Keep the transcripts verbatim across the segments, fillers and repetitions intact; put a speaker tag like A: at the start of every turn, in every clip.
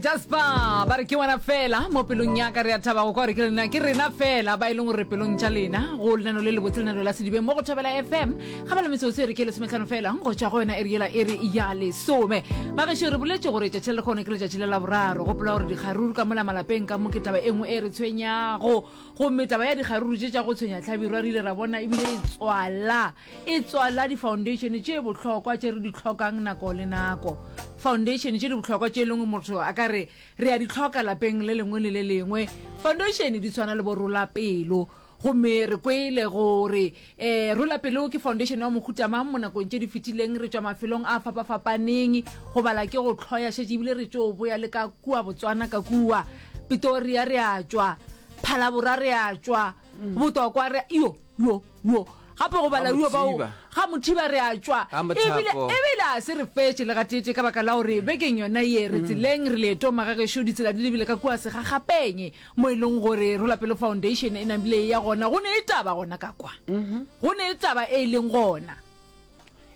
A: Jasper ba re ke wena fela mo pelong ya ka. Re a thaba go kwa gore ke lena, ke rena fela ba e leng gore pelong tša lena go lenano le lebotse, lenano la Sedibeng mo go Thobela F M. Ga ba le metsotso e re ke lesometlhano fela go tšwa go yona e re yela e re ya lesome. Bagešo, re boletše gore tšatši la lekgono ke letšatši le la boraro. Gopola gore dikgaruru ka mola malapeng ka mo ke taba e nngwe e re tshwenyago, gomme taba ya dikgaruru tše tša go tshwenya tlhabirwa re ile ra bona ebile e tswala e tswala di-foundation tše bohlokwa tše re di tlhokang nako le nako, foundation tše di bohlokwa tše e leng motho a ka re re a di tlhoka lapeng le lengwe le le lengwe. Foundation di tshwana le bo Rola Pelo, gomme re kwele gore um Rola Pelo ke foundation ya mohuta mang mo nakong tše di fetileng. Re tšwa mafelong a fapafapaneng go bala ke go tlhoya šetše, ebile re tšo boya le ka kua Botswana, ka kua Pitoria re a tšwa, Phalabora re a tšwa, Botokwa re yo yo yo gape go bala yo bao ga Mothiba re a tšwa. Ebile ebile a se re fetše le gatete ka baka la gore bekeng yona ye re tseleng, re leetong magagešo, ditsela di lebile ka kua Segagapeng mo e leng gore Rola Pelo Foundation e namile ya gona. Go ne e taba gona ka kwa, go ne e taba e leng gona.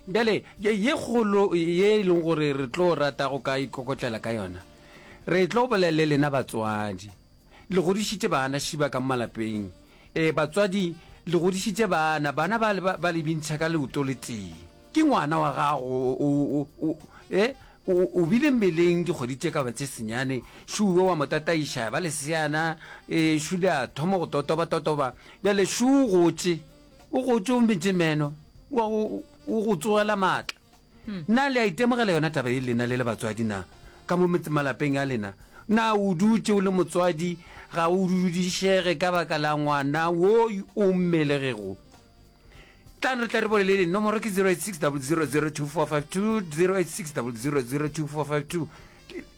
B: Bjale ye kgolo ye e leng gore re tlo rata go ka ikokotlela ka yona, re tlo bolela le lena batswadi. Le godišitše bana šiba ka malapeng. E batswadi, le godišitše bana, bana ba ba le bintšha ka leoto le tee. Ke ngwana wa gago, o o e o bile mmeleng dikgwedi tše ka ba tše senyane, šuwe wa mo tataiša ba leseana, e šule a thoma go totoba totoba. Bjale šu o gotše, o gotše, o metše meno, wa o go tsogela maatla. Na le a itemogela yona taba e lena le le batswadi? Na ka mo malapeng a lena, na o dutše o le motswadi ga o dudišege ka baka la ngwana wo o mmelegego? Tlang re tla re bolelele. Nomoro ke zero eight six zero zero zero two four five two, zero eight six zero zero zero two four five two.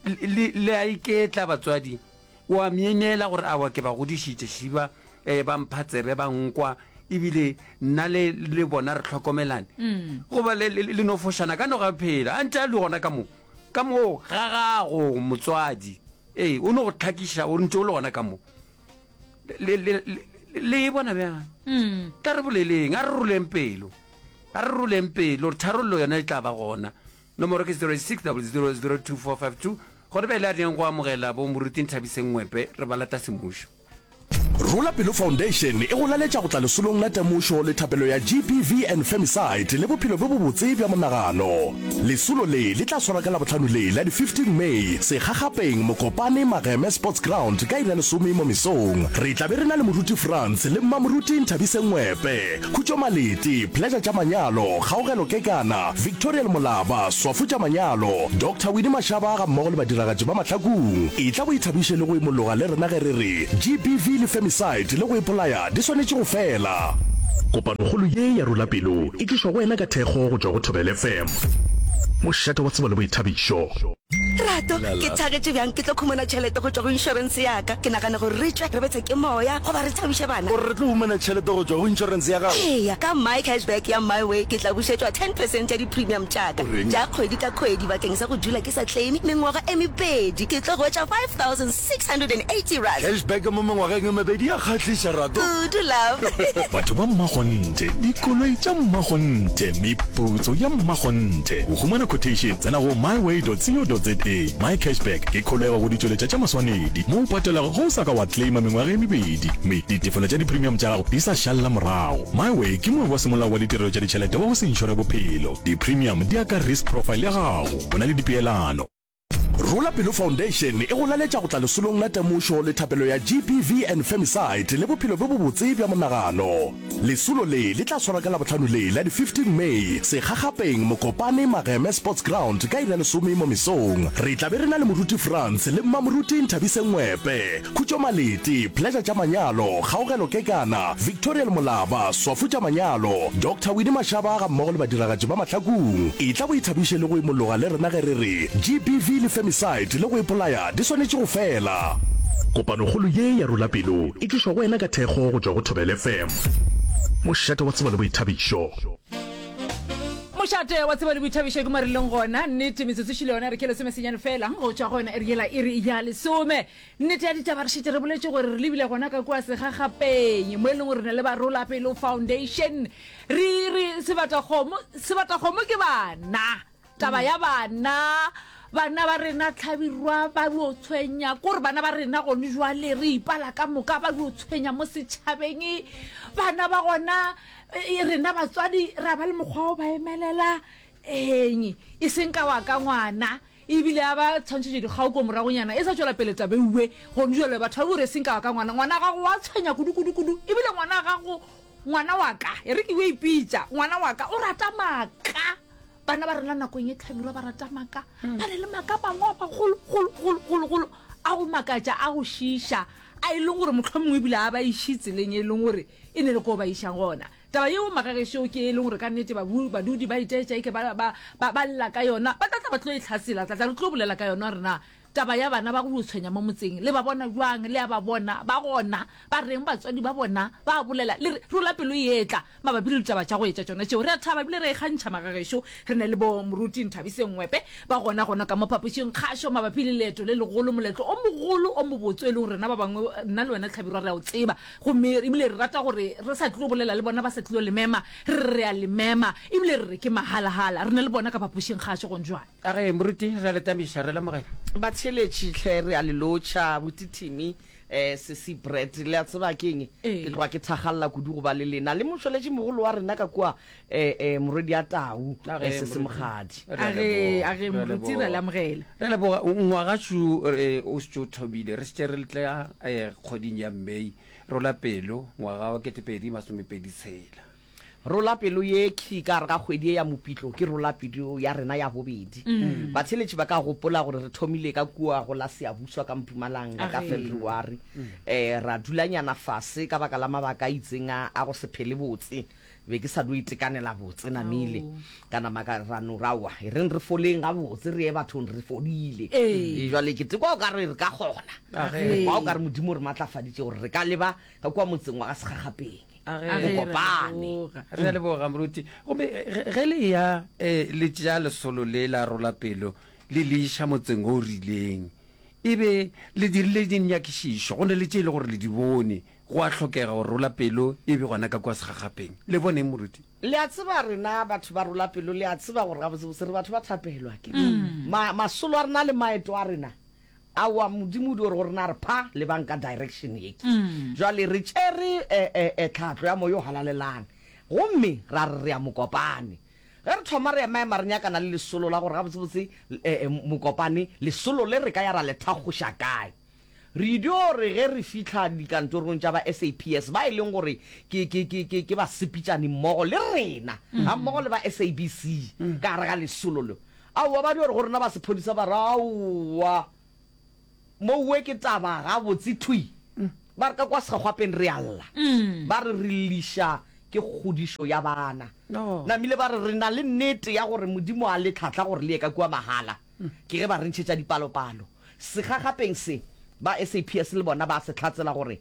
B: Le a iketla batswadi, wa myemyela gore awa ke ba godišitše šiba, um ba mpha tsebe, ba nkwa, ebile nna le le bona re tlhokomelane, goba le le no fošana ka no ga phela a ntse a le gona ka mo ka mo ga gago motswadi. Ee, o no go tlhakiša o ntse o le gona ka mo. Le le le e bona bjang? Tla re boleleng, a re roleng pelo, a re roleng pelo gore tharollo yona e tla ba gona. Nomoro ke zero six zero zero zero two four five two. Gore bjale a reng go amogela bo moruti Nthabiseng Ngwepe, re ba lata semmušo.
C: Rola Pelo Foundation e go laletša go tla lesolong la temošo le thapelo ya G B V and Femicide le bophelo bjo bobotse bja monagano. Lesolo le le tla swara ka Labohlano le la di fifteen May Segagapeng Mokopane Mageme Sports Ground ka iri ya lesome mo mesong. Re tla be re na le Moruti Frans le Mmamoruti Nthabiseng Ngwepe, Khutšo Malete, Pleasure tša Manyalo, Kgaogelo Kekana, Victoria Molaba, Swafu tša Manyalo, Doctor Winnie Mashaba ga mmogo le badiragatši ba mahlakong. E tla bo ithabiše le go imologa le rena ge re re G B V le femicide le go ipolaya di swanetše go fela. Kopanokgolo ye ya Rola Pelo e tlišwa go wena ka thekgo go tšwa go Thobela F M, mošate wa tsebo le boithabišo.
D: Rato, ke thagetše bjang ke tlo khumana tšhelete go tšwa go inšorense ya ka. Ke nagana gore re tšwe re bethe ke moya goba re thabiše bana.
E: Gore re tlo humana tšhelete go tšwa go inšorense ya gago?
D: Eya, ka My Cashback ya MiWay ke tla bušetšwa ten percent ya di-premium tša ka tša kgwedi ka kgwedi bakeng sa go dula ke sa claim mengwaga e mebedi. Ke tlo hwetša five thousand six hundred and eighty rand.
E: Cashback mo mengwageng e mebedi ya kgahliša, Rato.
D: Kudu, love.
F: Batho ba mmakgonthe, dikoloi tša mmakgonthe, meputso ya mmakgonthe. Go humana quotation, tsena go myway dot co dot za. My Cashback ke kholego go ditšweletša tša maswanedi mo o patelago ge o sa ka wa claima mengwaga e mebedi mme ditefelo tša di-premium tša gago di sa šalla morago. MiWay ke moabi wa semolao wa ditirelo tša ditšhelete wa go se inšore bophelo. Di-premium di ya ka risk profile ya gago, go na le dipeelano.
C: Rola Pelo Foundation e go laletša go tla lesolong la temošo le thapelo ya G B V and Femicide le bophelo bjo bobotse bja monagano. Lesolo le le tla swara ka Labohlano le la di fifteen May Segagapeng Mokopane Mageme Sports Ground ka iri ya lesome mo mesong. Re tla be re na le Moruti Frans le Mmamoruti Nthabiseng Ngwepe, Khutšo Malete, Pleasure tša Manyalo, Kgaogelo Kekana, Victoria Molaba, Swafu tša Manyalo, Doctor Winnie Mashaba ga mmogo le badiragatši ba mahlakong. E tla bo ithabiše le go imologa le rena ge re re G B V le femicide le go ipolaya di swanetše go fela. Kopanokgolo ye ya Rola Pelo e tlišwa go wena ka thekgo go tšwa go Thobela F M, mošate wa tsebo le boithabišo.
A: Mošate wa tsebo le boithabišo ke mo re leng gona. Nnete metsotso šile yona re ke lesome senyane fela go tšwa go yona e re yela e re ya lesome. Nnete ya ditaba, re šetše re boletše gore re lebile gona ka kua Segagapeng mo e leng gore re na le ba Rola Pelo Foundation. Re re sebatakgomo, sebatakgomo ke bana, taba ya bana Bana ba rena Hlabirwa ba dio tshwenya, kore bana ba rena gone jwale re ipala ka moka ba dio tshwenya mo setšhabeng. Bana ba gona e, rena batswadi ra ba le mokgwa wa go ba emelela eng e seng ka wa ka ngwana ebile a ba tshwantšhetše dikgao ko moragonyana e sa tšwela pele tabeuwe gone jwale batho ba bore e seng ka wa ka ngwana ngwana gago wa tshwenya kudu kudu kudu ebile ngwana gago ngwana wa ka e re ke yo ipitša ngwana wa ka o rata maaka. Bana ba rena nakong e Hlabirwa ba rata maaka. Ba na le maaka a mangwe a magolo, golo, golo, golo, golo, a go makatša, a go šiiša, a e leng gore mohlomongwe ebile a ba iše tseleng e leng gore e ne le koo ba išang gona. Taba yeo magagešo ke e leng gore ka nnete babu, badudi ba itaetša eke ba, ba, ba, ba lla ka yona. Ba tla tla ba tlo e hlasela, tla tla re tlo bolela ka yona gore na Taba ya bana ba go yo tshwenya mo motseng, le ba bona bjang? Le a ba bona? Ba gona? Ba reng batswadi ba bona? Ba a bolela? Le re, Rola pelo e etla. Mabapi le ditaba tša go etša tšona tšeo, re a thaba ebile re a ikgantšha magagešo. Re na le bo Moruti Nthabiseng Ngwepe ba gona gona ka mo phapošing kgašo mabapi le leeto le legolo, moletlo o mogolo o mobotse o e leng gore rena ba bangwe, nna le wena Hlabirwa, re a o tseba. Gomme ebile re rata gore re sa tlilo bolela le bona ba sa tlilo le mema, re re re a le mema ebile re re ke mahala-hala. Re na le bona ka phapošing kgašo gone jwale.
B: A re, Moruti, re a le tamiša, re lemogela.
G: Batheeletši hle, re a le lotšha. Buti Timmy, eh, Sesi Brett, le a tseba ke eng? Ke tloga ke thakgalela kudu go ba le lena. Le motšweletši mogolo wa rena ka kua, eh, eh, morwedi ya Tau,
B: A
G: eh,
B: re,
G: Sesi
B: Moruti.
G: Mokgadi.
B: Re a
A: A re, a
B: leboga,
A: re,
B: re a
A: Moruti, re a le
B: leboga.
A: amogela.
B: Re a leboga. Ngwagašu, eh, o šetše o thomile. Re šetše re tla, eh, kgweding ya May. Rola pelo, ngwaga wa ketepedi masomepedi tshela.
G: Rola pelo ye khi ka gare ga kgwedi ye ya Mopitlo ke rola pelo ya rena ya bobedi. Batheeletši ba ka gopola gore re thomile ka kua go la Siyabuswa ka Mpumalanga ka February. Eh, ra dulanyana fase ka baka la mabaka a itseng a, a go se phele botse. Be ke sa dio itekanela botse namile. Ka nama ka ra no ra wa, e reng re foleng gabotse re ye bathong re fodile. E jwale ke tekwa o ka re re ka kgona. Re kwa o ka re Modimo o re matlafaditše gore re ka leba ka kua motseng wa ga Segagapeng.
B: A
A: A
B: ge
A: ge,
G: Go
A: re
G: kopane.
A: leboga.
B: Re a leboga, Moruti. Gomme ge, ge le eya, eh, le tšea lesolo le la rola pelo, le le iša motseng o rileng, e be le dirile dinyakišišo, go na le tše e le gore le di bone, go a hlokega gore rola pelo e be gona ka kua segagapeng. Le boneng, Moruti?
G: Le a tseba, rena batho ba rola pelo, le a tseba gore gabotsebotse re batho ba thapelo, a ke re? Ma, masolo a rena le maeto a rena, Aowa, Modimo o dio re go rena a re, Pha, lebang ka direction ye. Jwale re tšere e, e, e tlhahlo ya Moya o Halalelang, gomme ra re re ya Mokopane. Ge re thoma re emaema re nyakana le lesolo la gore gabotsebotse e, e, Mokopane, lesolo le re ka ya ra le thakgoša kae. Re dio re ge re fihla dikantorong tša ba S A P S, ba e leng gore ke, ke, ke, ke, ke basepetšani mmogo le rena, gammogo le ba S A B C ka gare ga lesolo le, aowa, ba dio re go rena ba sephodisa ba re, Aowa, Mowe ke taba gabotse thwi. Ba re ka kwa segwapeng re a lla. Ba re re lliša ke kgodišo ya bana. Namile ba re re na le nnete ya gore Modimo a le tlhahla gore le ye ka kua mahala. Ke ge ba re ntšhetša dipalopalo. Segagapeng se, ba S A P S le bona ba a se hlatsela gore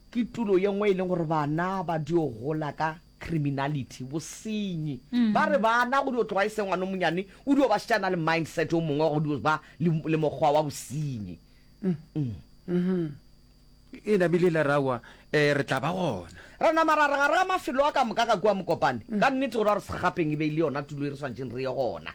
G: ke tulo ye nngwe e leng gore bana ba dio gola ka criminality, bosenyi. Ba re bana go dio tloga e se ngwana o monyane, o dio ba šetše a na le mindset o mongwe wa go dio ba le, le mokgwa wa bosenyi.
B: E namile la re aowa, eh, re tla ba gona.
G: Ra nama ra re gare ga mafelo a ka moka ka kua Mokopane, ka nnete gore ba re Segapeng e be e le yona tulo e re swanetšeng re ye gona.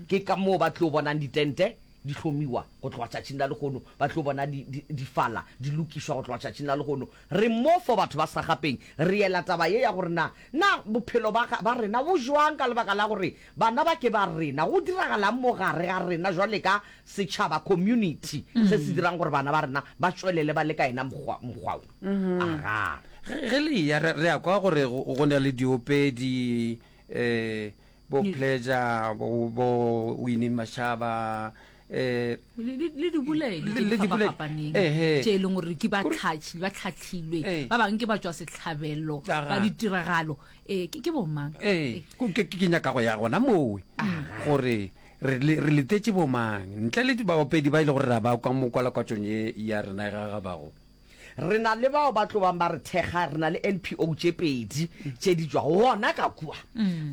G: Ke ka moo ba tlo bonang ditente di hlomiwa go tloga tšatšing la lehono, ba tlo bona di, di, difala di lokišwa go tloga tšatšing la lehono. Re mo for batho ba Segapeng, re ela taba ye ya gore na, na bophelo ba, ba rena bo jwang ka lebaka la gore bana ba ke ba rena, go diragalang mo gare ga rena jwale ka setšhaba, community, se se dirang gore bana ba rena ba tšwelele ba le ka yena mokgwa, mokgwa wo. Agaa.
B: Ge, ge le eya, re, re a kwa gore go, go na le diopedi, eh, bo Pleasure, bo, bo Winnie Mashaba, eh,
A: Le, le, le diboledi
B: Le,
A: tše
B: le
A: di
B: diboledi,
A: fapafapaneng
B: ehe.
A: tše e leng gore ke ba
B: Kore-
A: tlhatši, ba tlhahlilwe,
B: Ee.
A: ba bangwe ke ba tšwa sehlabelo
B: Aga.
A: ba ditiragalo. Ee, ke, ke bomang?
B: Ee, ko- ke, ke nyaka go ya gona mowe gore re, le, re letetše bomang ntle le baopedi ba e le gore ra ba kwa mo kwalakwatšong ye ya rena e gagabago.
G: Re na le bao ba tlo bang ba re thekga, re na le N P O tše pedi tše di tšwago gona ka kua,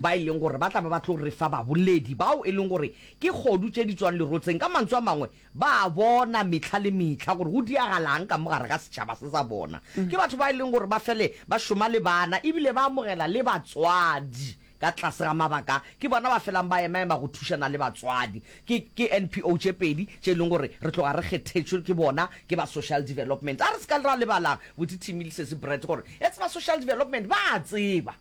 G: ba e leng gore ba tla ba ba tlo re fa baboledi bao e leng gore ke kgodu tše di tšwang lerotseng. Ka mantswe a mangwe, ba a bona mehla le mehla gore go diagalang ka mo gare ga setšhaba se sa bona. Ke batho ba e leng gore ba fele ba šoma le bana ebile ba amogela le batswadi. ka tlase ga mabaka a, ke bona ba felang ba emaema go thušana le batswadi. Ke, ke N P O tše pedi tše e leng gore re tloga re kgethetšwe ke bona, ke ba Social Development. A re se ka ra lebala Buti Timmy le Sesi Brett gore etse ba Social Development ba a tseba,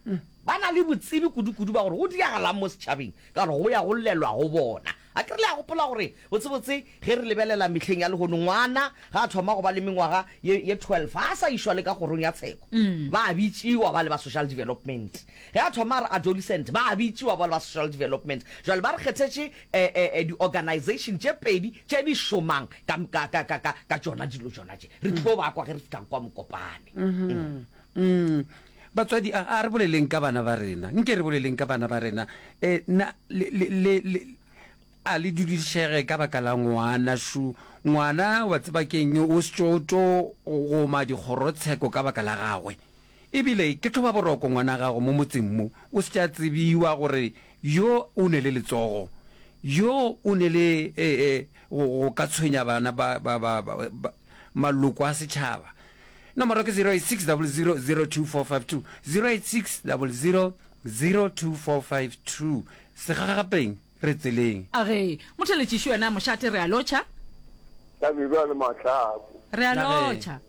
G: ba na le botsebi kudu-kudu ba gore go diragalang mo setšhabeng ka gore go ya go llelwa go bona. A ke re le a gopola gore botsebotse ge re lebelela mehleng ya lehono, ngwana ga a thoma go ba le mengwaga ye, ye twelve ga a sa išwa le ka kgorong ya tsheko, ba a bitšiwa ba le ba Social Development. Ge a thoma a re adolescent, ba a bitšiwa ba le ba Social Development. Jwale ba re kgethetše eh, eh, eh, di-organization tše pedi tše di šomang ka, ka, ka, ka, ka, ka tšona dilo tšona tše. Re tlo ba kwa ge re fihla kwa Mokopane.
B: Mm. Mm. Batswadi, a, a re boleleng ka bana ba rena. Nke re boleleng ka bana ba rena. Eh, na, le, le, le, le, a le dudišege ka baka la ngwana šu. Ngwana wa tseba keng, o se tšo tšo goma dikgorotsheko ka baka la gagwe. Ebile ke tlhoba boroko ngwana gago mo motseng mo, o se tša tsebiwa gore yo o ne le letsogo, yo o ne le, eh, eh, go, go ka tshwenya bana ba, ba, ba, ba, ba, maloko a setšhaba. Nomoro ke zero eight six double zero zero two four five two, zero eight six double zero zero two four five two. Segagapeng re tseleng.
A: A ge, motheletšiši wena mošate, re a lotšha.
H: Hlabirwa le Mahlaku.
A: Re a lotšha.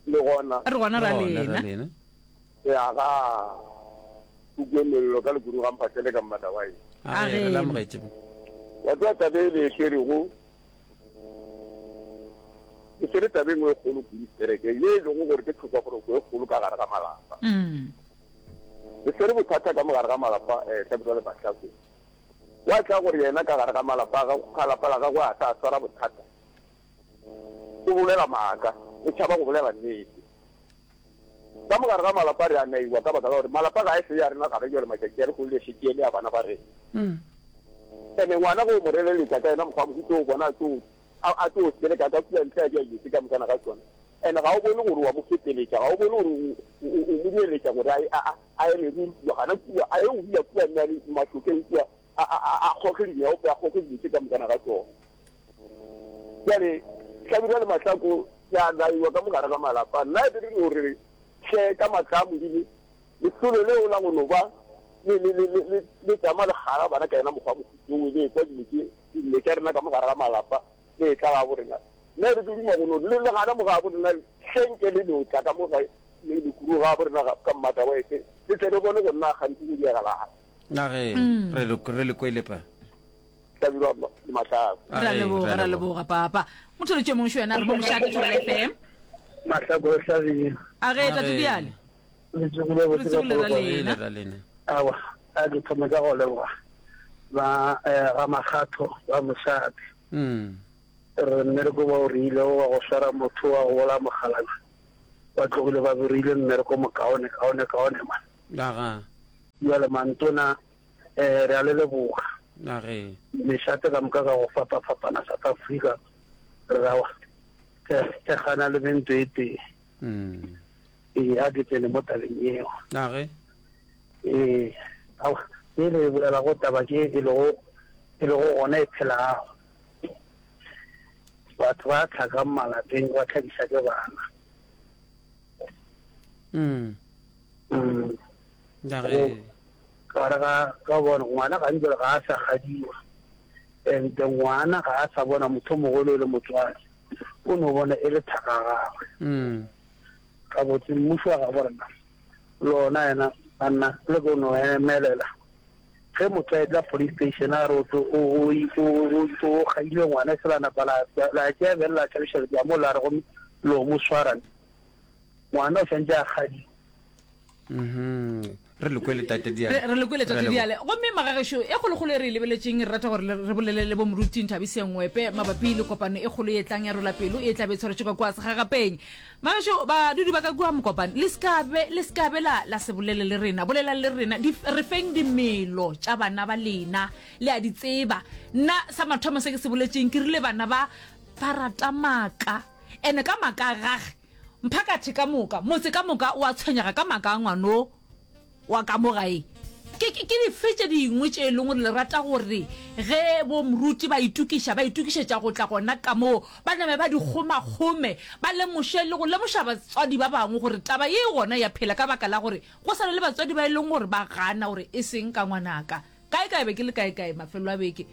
H: Le gona.
A: Re gona ra
B: Le gona ra
A: lena.
B: lena.
H: Re a ga Pukwe mello ka Lekuru ga Mphahlele ka Mmatawai.
B: A
A: A
B: ge, re
A: ge.
B: le amogetše.
H: Wa tseba taba e le e swerego, e swere taba e nngwe e kgolo kudu setereke, ye e lego gore ke tlhokaboroko e kgolo ka gare ga malapa.
A: Mm.
H: Le swere bothata ka mo gare ga malapa, eh, Hlabirwa le Mahlaku. Wa tla gore yena ka gare ga malapa a gagwe, ga lapa la gagwe a sa swara bothata. O bolela maaka, o tšhaba go bolela nnete. Ka mo gare ga malapa re a naiwa ka baka la gore malapa ga e se ya rena gare jwale matšatši a lehono le šetše e le ya bana ba rena. Ene ngwana ge o mo releletša ka yena mokgwa wa mohuta o bona a tlo a, a tlo seleka ka kua ntle a dira dilo tše ka mokana ga tšona. Ene ga o bone gore wa mo feteletša, ga o bone gore o, o, o, o mo dueletša gore a, a, a, a eme ruri kua, gana kua, a ye go dula kua nna le mašokeng kua, a, a, a, a kgoge dinyaope, a kgoge dilo tše ka mokana ga tšona. Bjale, Hlabirwa le Mahlako, ke a laiwa ka mo gare ga malapa. Nna e be re no re, hle, ka maatla a Modimo, lesolo leo la go no ba le, le, le, le, le, le tšama le kgara bana ka yena mokgwa wa mohuta wo, le ekwa dilo tše, dillo tša rena ka mo gare ga malapa, le etla gabo rena. Nna e be ke duma go no re, le, le gana mo gabo rena, hle nke le no tla ka mo gae, le, le kudu gabo rena ga, ka Mmatawaese, le tle le bone gore na kganthe go diragalang.
B: Na ge, re le, re le kwele pa.
H: Hlabirwa le Mahlako.
B: A
A: Ra
B: ge,
A: leboga,
B: ra
A: ra
B: leboga.
A: leboga papa. Motheletši yo mongwe šo yena a re mo mošate Thobela F M.
I: Mahlako le Hlabirwa.
A: A ge,
B: A
A: tate
B: ge.
A: Diale.
I: Le tsogile
A: Re
I: botse ka
A: tsogile ra
I: polokwane.
A: lena.
B: Ra lena.
I: Aowa, a ke thome ka go leboga ba eh, ga Makgatho ba mošate.
B: Mm.
I: Re mmereko ba o reilego wa go swara motho wa go bola mokgalabje, ba tlogile ba berile mmereko mokaone kaone kaone man.
B: Aga.
I: Bjale mantona eh, re a le leboga.
B: A ge.
I: Mešate ka moka ka go fapafapana South Africa re ra e gana le mento e tee.
B: Mm.
I: Ee, a ke tsene mo tabeng yeo.
B: A ge.
I: Ee, aowa, ye re e bolelago taba ke e lego e lego gona e phelago. Batho ba tlhakang malapeng ba tlhakiša ke bana.
B: Mm.
I: Mm.
B: A
I: Go
B: ge.
I: ka gare ga ka bona ngwana gantsi jwale ga a sa gadiwa, and ngwana ga a sa bona motho o mogolo e le motswadi, o no bona e le thaka ya gagwe.
B: Mm.
I: Gabotse mmušo wa gabo rena le ona yena banna le ko no emelela ge motho a etla police station a re o tlo o o o o gaile ngwana e se la napa la la tšea bjale la tšhabiša le mo la re gomme lo mo swara ngwana o santse a gadiwa.
B: Mhm. Re le kwele tate Diale.
A: Re, re le kwele
B: Re
A: tate
B: leboga.
A: Diale. Gomme magagešo e kgolokgolo e re e lebeletšeng, re rata gore le, re bolele le bo moruti Nthabiseng Ngwepe mabapi le kopano e kgolo e tlang ya Rola Pelo e tla be e tshwaretšwe ka kua Segagapeng. Magagešo, badudi ba ka kua Mokopane, le se ka be, le se ka be la, la se bolele le rena. Bolelang le rena. Di, re feng dimelo tša bana ba lena. Le a di tseba. Nna sa mathomo se ke se boletšeng, ke rile bana ba, ba rata maaka. Ene ka maaka a gage, mphakathi ka moka, motse ka moka o a tshwenyega ka maaka a ngwano wa ka mo gae. Ke, ke, ke dife tše dingwe tše e leng gore le rata gore ge bo moruti ba itokiša, ba itokišetša go tla gona ka moo, ba name ba di kgomakgome, ba lemoše le go lemoša batswadi ba bangwe gore taba ye e gona ya phela ka baka la gore go sa na le batswadi ba e leng gore ba gana gore e seng ka ngwanaka. Kae kae be ke le kae kae mafelo a beke,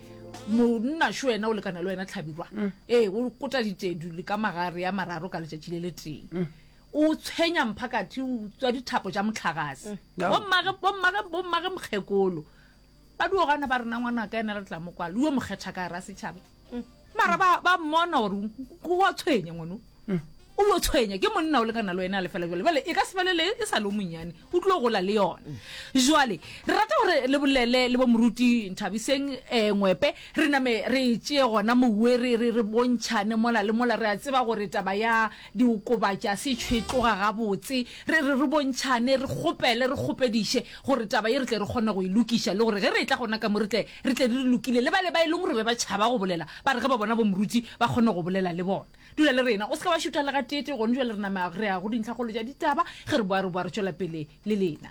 A: monna šo yena o lekana le wena Hlabirwa. Ee, o kota ditedu le ka magare a mararo ka letšatši le letee. O tshwenya mphakathi, o tswa dithapo tša mohlagase. Bommage, bommage, bommage mokgekolo ba dio gana ba re na ngwanaka yena re tla mo kwala, o yo mo kgetha ka gara setšhaba. Mara ba, ba mmona gore o a tshwenya ngwano. O yo tshwenya ke monna o lekana le wena a lefela jwale. Bjale e ka se felele e sa le o monnyane, o tlilo gola le yona. Jwale re rata gore le bolele le bo moruti Nthabiseng eh, Ngwepe, re name re e tšee gona mowe, re, re, re bontšhane mola le mola. Re a tseba gore taba ya diokobatši a se tšhwe tloga gabotse. Re, re, re bontšhane, re kgopele, re kgopediše gore taba ye re tle re kgone go e lokiša, le gore ge re etla gona ka mo re tle, re tle re lokile. Le bale ba e leng gore be ba tšhaba go bolela, ba re ge ba bona bo moruti ba kgone go bolela le bona. Dula le rena, o se ke wa šutha le gateetee. Gone bjale re nama re ya go dintlhakgolo tša ditaba. Ge re boa, re boa re tšwela pele le lena.